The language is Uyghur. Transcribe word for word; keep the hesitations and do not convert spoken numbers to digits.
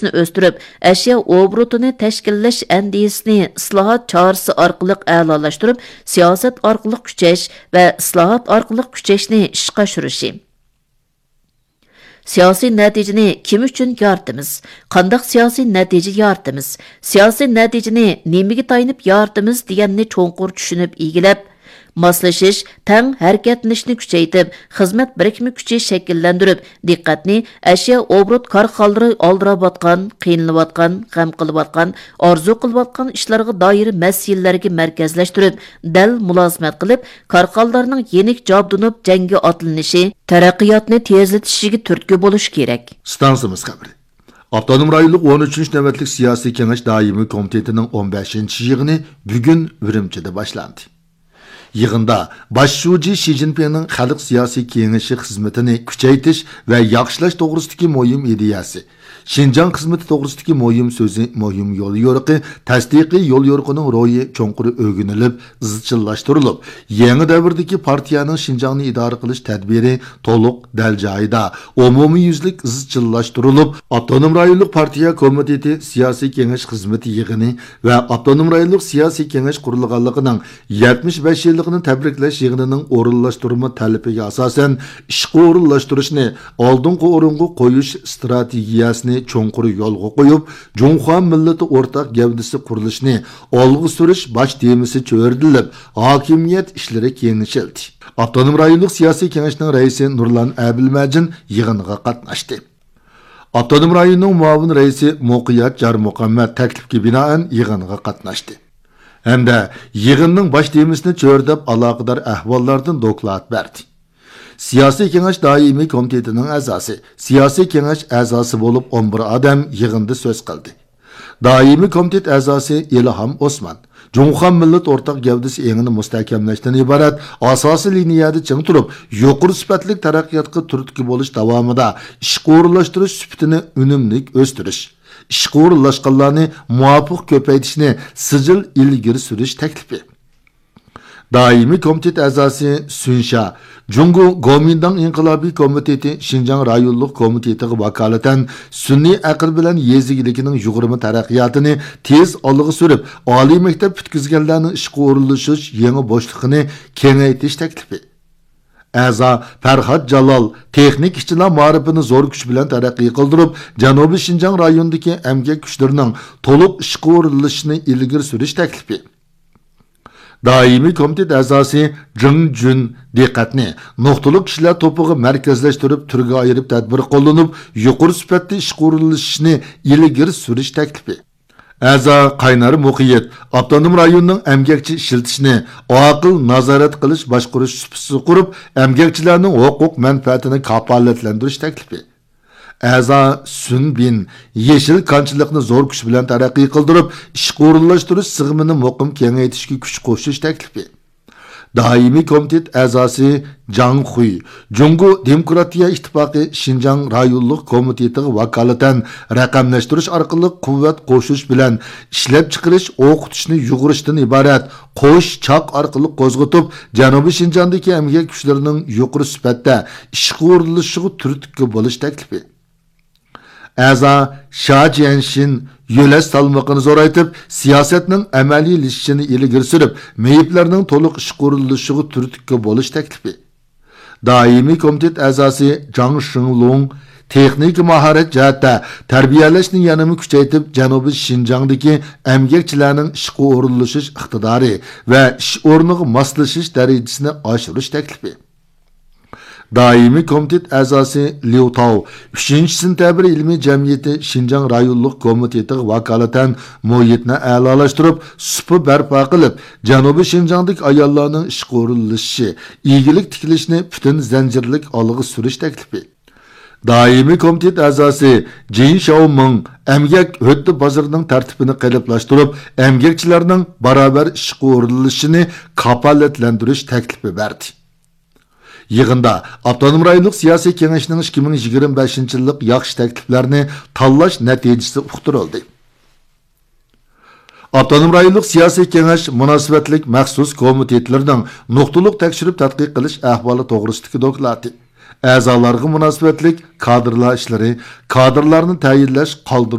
ئۆستۈرۈپ، ئەشيا ئوبوروتىنى تەشكىللەش ئەندىزىسىنى ئىسلاھات چارىسى ئارقىلىق ئەلالاشتۇرۇپ، سىياسەت ئارقىلىق كۈچەش ۋە ئىسلاھات ئارقىلىق كۈچەشنى ئىشقا ئاشۇرۇشى. سىياسىي نەتىجىنى كىم ئۈچۈن يارىتىمىز؟ قانداق سىياسىي نەتىجە يارىتىمىز؟ سىياسىي نەتىجىنى نېمىگە تايىنىپ يارىتىمىز دېگەننى چوڭقۇر چۈشىنىپ ئىگىلەپ، ماسلىشىش، تەڭ ھەرىكەتلىنىشنى كۈچەيتىپ، خىزمەت بىرىكمە كۈچى شەكىللەندۈرۈپ، دىققەتنى ئەشيا ئوبوروت كارخانىلىرى ئالدىراۋاتقان، قىينىلىۋاتقان، غەم قىلىۋاتقان، ئارزۇ قىلىۋاتقان ئىشلارغا دائىر مەسىلىلەرگە مەركەزلەشتۈرۈپ، دەل مۇلازىمەت قىلىپ، كارخانىلارنىڭ يېنىك جابدۇنۇپ جەڭگە ئاتلىنىشى، تەرەققىياتنى تېزلىتىشىگە تۈرتكە بولۇش كېرەك. ئىستانسىمىز خەۋىرى. ئاپتونوم رايونلۇق ئون ئۈچىنچى نۆۋەتلىك سىياسىي كېڭەش دائىمىي كومىتېتىنىڭ ئون بەشىنچى يىغىنى بۈگۈن ئۈرۈمچىدە باشلاندى. يىغىندا باش شۇجى شى جىنپىڭنىڭ خەلق سىياسىي كېڭىشى خىزمىتىنى كۈچەيتىش ۋە ياخشىلاش توغرىسىدىكى مۇھىم ئىدىيەسى، شىنجاڭ خىزمىتى توغرىسىدىكى مۇھىم سۆزى، مۇھىم يوليورۇقى، تەستىقىي يوليورۇقىنىڭ روھى چوڭقۇر ئۆگىنىلىپ، ئىزچىللاشتۇرۇلۇپ، يېڭى دەۋردىكى پارتىيەنىڭ شىنجاڭنى ئىدارە قىلىش تەدبىرى تولۇق، دەل جايىدا، ئومۇميۈزلۈك ئىزچىللاشتۇرۇلۇپ، ئاپتونوم رايونلۇق پارتىيە كومىتېتى سىياسىي كېڭەش خىزمىتى يىغىنى ۋە ئاپتونوم رايونلۇق سىياسىي كېڭەش قۇرۇلغانلىقىنىڭ يەتمىش بەش يىللىقىنى تەبرىكلەش يىغىنىنىڭ ئورۇنلاشتۇرما تەلىپىگە ئاساسەن، ئىشقا ئورۇنلاشتۇرۇشنى ئالدىنقى ئورۇنغا قويۇش ئىستراتېگىيەسىنى چوڭقۇر يولغا قويۇپ، جۇڭخۇا مىللىتى ئورتاق گەۋدىسى قۇرۇلۇشىنى ئالغا سۈرۈش باش تېمىسى چۆرىدىلىپ، ھاكىمىيەت ئىشلىرى كېڭىشىلدى. ئاپتونوم رايونلۇق سىياسىي كېڭەشنىڭ رەئىسى نۇرلان ئەبىلمەجىن يىغىنغا قاتناشتى. ئاپتونوم رايوننىڭ مۇئاۋىن رەئىسى مۇقىيەت جارمۇخەممەت تەكلىپكە بىنائەن يىغىنغا قاتناشتى ھەمدە يىغىننىڭ باش تېمىسىنى چۆرىدەپ، ئالاقىدار ئەھۋاللاردىن دوكلات بەردى. سىياسىي كېڭەش دائىمىي كومىتېتىنىڭ ئەزاسى، سىياسىي كېڭەش ئەزاسى بولۇپ ئون بىر ئادەم يىغىندا سۆز قىلدى. دائىمىي كومىتېت ئەزاسى ئىلھام ئوسمان جۇڭخۇا مىللەت ئورتاق گەۋدىسى ئېڭىنى مۇستەھكەملەشتىن ئىبارەت ئاساسىي لىنىيەدە چىڭ تۇرۇپ، يۇقىرى سۈپەتلىك تەرەققىياتقا تۈرتكە بولۇش داۋامىدا ئىشقا ئورۇنلاشتۇرۇش سۈپىتىنى ئۈنۈملۈك ئۆستۈرۈش، ئىشقا ئورۇنلاشقانلارنى مۇۋاپىق كۆپەيتىشنى سىجىل ئىلگىرى سۈرۈش تەكلىپى. دائىمىي كومىتېت ئەزاسى سۈن شيا جۇڭگو گومىنداڭ ئىنقىلابىي كومىتېتى شىنجاڭ رايونلۇق كومىتېتىغا ۋاكالىتەن سۈنئىي ئەقىل بىلەن يېزا ئىگىلىكىنىڭ يۇغۇرما تەرەققىياتىنى تېز ئالغا سۈرۈپ، ئالىي مەكتەپ پۈتكۈزگەنلەرنىڭ ئىشقا ئورۇنلىشىش يېڭى بوشلۇقىنى كېڭەيتىش تەكلىپى. ئەزا پەرھات جالال تېخنىكا ئىشچىلار مائارىپىنى زور كۈچ بىلەن تەرەققىي قىلدۇرۇپ، جەنۇبىي شىنجاڭ رايونىدىكى ئەمگەك كۈچلىرىنىڭ تولۇق ئىشقا ئورۇنلىشىشىنى ئىلگىرى سۈرۈش تەكلىپى. دائىمىي كومىتېت ئەزاسى جېڭ جۈن دىققەتنى نۇقتىلىق كىشىلەر توپىغا مەركەزلەشتۈرۈپ، تۈرگە ئايرىپ تەدبىر قوللىنىپ، يۇقىرى سۈپەتتە ئىشقا ئورۇنلىشىشنى ئىلگىرى سۈرۈش تەكلىپى. ئەزا قاينار مۇقىيەت ئاپتونوم رايوننىڭ ئەمگەكچى ئىشلىتىشنى ئاقىل نازارەت قىلىش باشقۇرۇش سۇپىسى قۇرۇپ، ئەمگەكچىلەرنىڭ ھوقۇق مەنپەئەتىنى كاپالەتلەندۈرۈش تەكلىپى. ئەزا سۈن بىن يېشىل كانچىلىقنى زور كۈچ بىلەن تەرەققىي قىلدۇرۇپ، ئىشقا ئورۇنلاشتۇرۇش سىغىمىنى مۇقىم كېڭەيتىشكە كۈچ قوشۇش تەكلىپى. دائىمىي كومىتېت ئەزاسى جاڭ خۇي جۇڭگو دېموكراتىيە ئىتتىپاقى شىنجاڭ رايونلۇق كومىتېتىغا ۋاكالىتەن رەقەملەشتۈرۈش ئارقىلىق قۇۋۋەت قوشۇش بىلەن ئىشلەپچىقىرىش، ئوقۇتۇشنى يۇغۇرۇشتىن ئىبارەت قوش چاق ئارقىلىق قوزغىتىپ، جەنۇبىي شىنجاڭدىكى ئەمگەك كۈچلىرىنىڭ يۇقىرى سۈپەتتە ئىشقا ئورۇنلىشىشىغا تۈرتكە بولۇش تەكلىپى. ئەزا شيا جيەنشىن يۆلەش سالمىقىنى زورايتىپ، سىياسەتنىڭ ئەمەلىيلىشىشىنى ئىلگىرى سۈرۈپ، مېيىپلەرنىڭ تولۇق ئىشقا ئورۇنلىشىشىغا تۈرتكە بولۇش تەكلىپى. دائىمىي كومىتېت ئەزاسى جاڭ شېڭلۇڭ تېخنىكا ماھارەت جەھەتتە تەربىيەلەشنى يەنىمۇ كۈچەيتىپ، جەنۇبىي شىنجاڭدىكى ئەمگەكچىلەرنىڭ ئىشقا ئورۇنلىشىش ئىقتىدارى ۋە ئىش ئورنىغا ماسلىشىش دەرىجىسىنى ئاشۇرۇش تەكلىپى. دائىمىي كومىتېت ئەزاسى ليۇ تاۋ ئۈچىنچى سېنتەبىر ئىلمىي جەمئىيىتى شىنجاڭ رايونلۇق كومىتېتىغا ۋاكالىتەن مۇھىتنى ئەلالاشتۇرۇپ، سۇپا بەرپا قىلىپ، جەنۇبىي شىنجاڭدىكى ئاياللارنىڭ ئىشقا ئورۇنلىشىشى، ئىگىلىك تىكلىشىنى پۈتۈن زەنجىرلىك ئالغا سۈرۈش تەكلىپى. دائىمىي كومىتېت ئەزاسى جىن شياۋمىڭ ئەمگەك ھۆددە بازىرىنىڭ تەرتىپىنى قېلىپلاشتۇرۇپ، ئەمگەكچىلەرنىڭ باراۋەر ئىشقا ئورۇنلىشىشىنى كاپالەتلەندۈرۈش تەكلىپى بەردى. يىغىندا ئاپتونوم رايونلۇق سىياسىي كېڭەشنىڭ ئىككى مىڭ يىگىرمە بەشىنچى يىللىق ياخشى تەكلىپلەرنى تاللاش نەتىجىسى ئۇقتۇرۇلدى. ئاپتونوم رايونلۇق سىياسىي كېڭەش مۇناسىۋەتلىك مەخسۇس كومىتېتلىرىنىڭ نۇقتىلىق تەكشۈرۈپ تەتقىق قىلىش ئەھۋالى توغرىسىدىكى دوكلاتى، ئەزالارغا مۇناسىۋەتلىك كادىرلار ئىشلىرى، كادىرلارنى تەيىنلەش، قالدۇرۇش